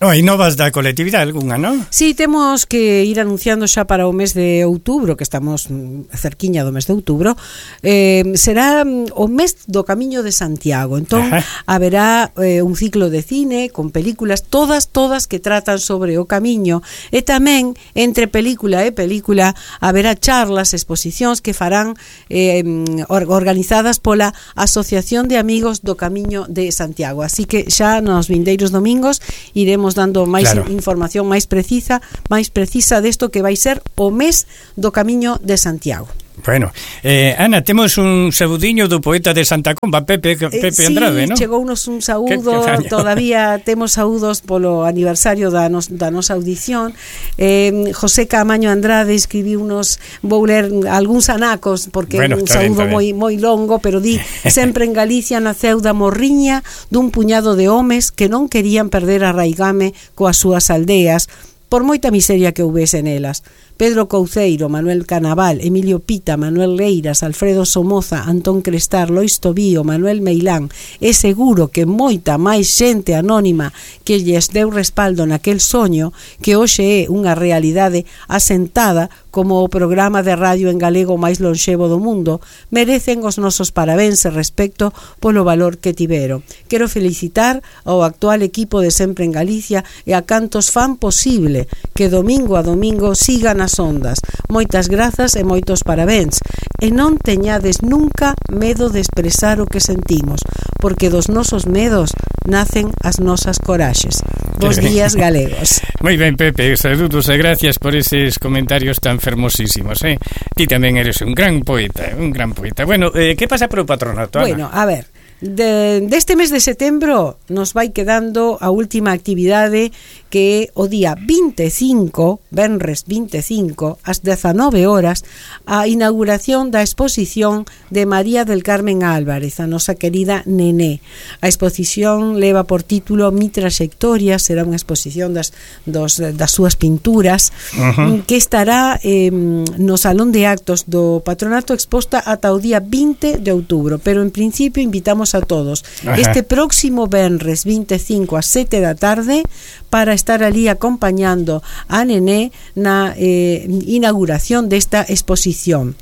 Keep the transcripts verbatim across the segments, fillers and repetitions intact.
Oh, e novas da colectividade algunha, non? Sí, temos que ir anunciando xa para o mes de outubro, que estamos cerquiña do mes de outubro, eh, será o mes do Camiño de Santiago. Entón, Ajá. haberá eh, un ciclo de cine con películas, todas, todas que tratan sobre o camiño, e tamén, entre película e película, haberá charlas, exposicións que farán eh, organizadas pola Asociación de Amigos do Camiño de Santiago. Así que xa nos vindeiros domingos iremos dando máis claro. información máis precisa, máis precisa desto que vai ser o mes do Camiño de Santiago. Bueno, eh, Ana, temos un saudiño do poeta de Santa Comba, Pepe, Pepe eh, sí, Andrade, non? Sí, chegounos un saúdo, que, que todavía temos saúdos polo aniversario da, nos, da nosa audición. eh, José Camaño Andrade escribiu unos, vou ler algúns anacos, porque bueno, un saúdo moi, moi longo, pero di: sempre en Galicia naceu da morriña dun puñado de homes que non querían perder a raigame coas súas aldeas, por moita miseria que houvese nelas. Pedro Couceiro, Manuel Canaval, Emilio Pita, Manuel Leiras, Alfredo Somoza, Antón Crestar, Lois Tobío, Manuel Meilán. É seguro que moita máis xente anónima que lles deu respaldo naquel soño, que hoxe é unha realidade asentada como o programa de radio en galego máis lonxevo do mundo, merecen os nosos parabéns e respecto polo valor que tiveron. Quero felicitar ao actual equipo de Sempre en Galicia e a cantos fan posible que domingo a domingo sigan as ondas. Moitas grazas e moitos parabéns. E non teñades nunca medo de expresar o que sentimos, porque dos nosos medos nacen as nosas coraxes. Bos días, galegos. Moi ben, Pepe, saludos e gracias por eses comentarios tan fermosísimos, eh? Ti tamén eres un gran poeta, un gran poeta. Bueno, eh, que pasa pro patronato, Ana? Bueno, a ver, de, deste mes de setembro nos vai quedando a última actividade, que é o día vinte e cinco, venres vinte e cinco, ás dezanove horas, a inauguración da exposición de María del Carmen Álvarez, a nosa querida Nené. A exposición leva por título Mi Traxectoria, será unha exposición das, dos, das súas pinturas, uh-huh. que estará eh, no Salón de Actos do Patronato, exposta ata o día vinte de outubro, pero en principio invitamos a todos uh-huh. este próximo venres vinte e cinco ás sete da tarde para estar ali acompañando a Nené na eh, inauguración desta exposición.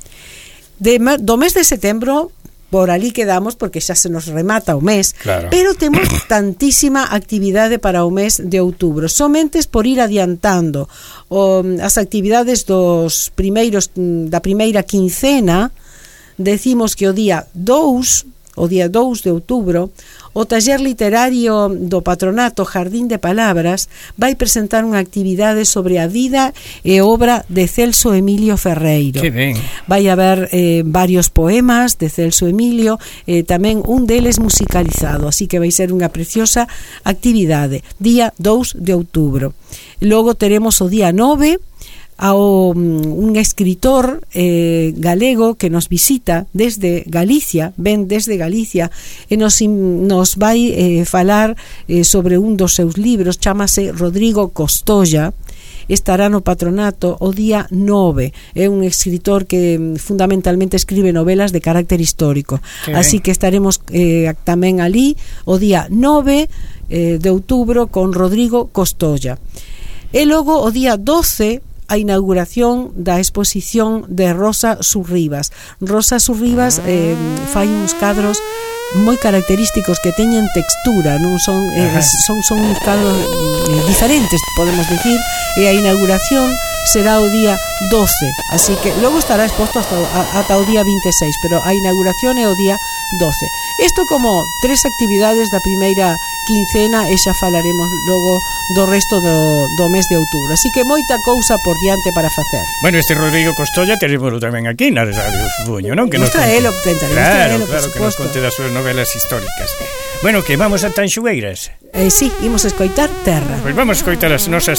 De, do mes de setembro por ali quedamos, porque xa se nos remata o mes, claro. pero temos tantísima actividade para o mes de outubro. Somente por ir adiantando o, as actividades dos primeiros da primeira quincena, decimos que o día dous, o día dous de outubro, o taller literario do Patronato Jardín de Palabras vai presentar unha actividade sobre a vida e obra de Celso Emilio Ferreiro. Que ben. Vai haber eh, varios poemas de Celso Emilio, eh, tamén un deles musicalizado, así que vai ser unha preciosa actividade. Día dous de outubro. Logo teremos o día nove, ao un escritor eh, galego que nos visita desde Galicia, ven desde Galicia, e nos, nos vai eh, falar eh, sobre un dos seus libros, chámase Rodrigo Costolla. Estará no Patronato o día nove. É un escritor que fundamentalmente escribe novelas de carácter histórico. Okay. Así que estaremos eh, tamén ali o día nove eh, de outubro con Rodrigo Costolla. E logo o día doce a inauguración da exposición de Rosa Surribas. Rosa Surribas eh, fai uns cadros moi característicos que teñen textura, non son eh, son son uns cadros eh, diferentes, podemos decir, e a inauguración será o día doce, así que logo estará exposto hasta ata o día vinte e seis, pero a inauguración é o día doce. Isto como tres actividades da primeira quincena, e xa falaremos logo do resto do, do mes de outubro, así que moita cousa por diante para facer. Bueno, este Rodrigo Costolla terémoslo tamén aquí na Radio Buño, non? Que nos traelo, claro, claro, que nos conte das súas novelas históricas. Bueno, que vamos a Tanxugueiras. Eh, sí, imos a escoitar Terra. Pois pues vamos a escoitar as nosas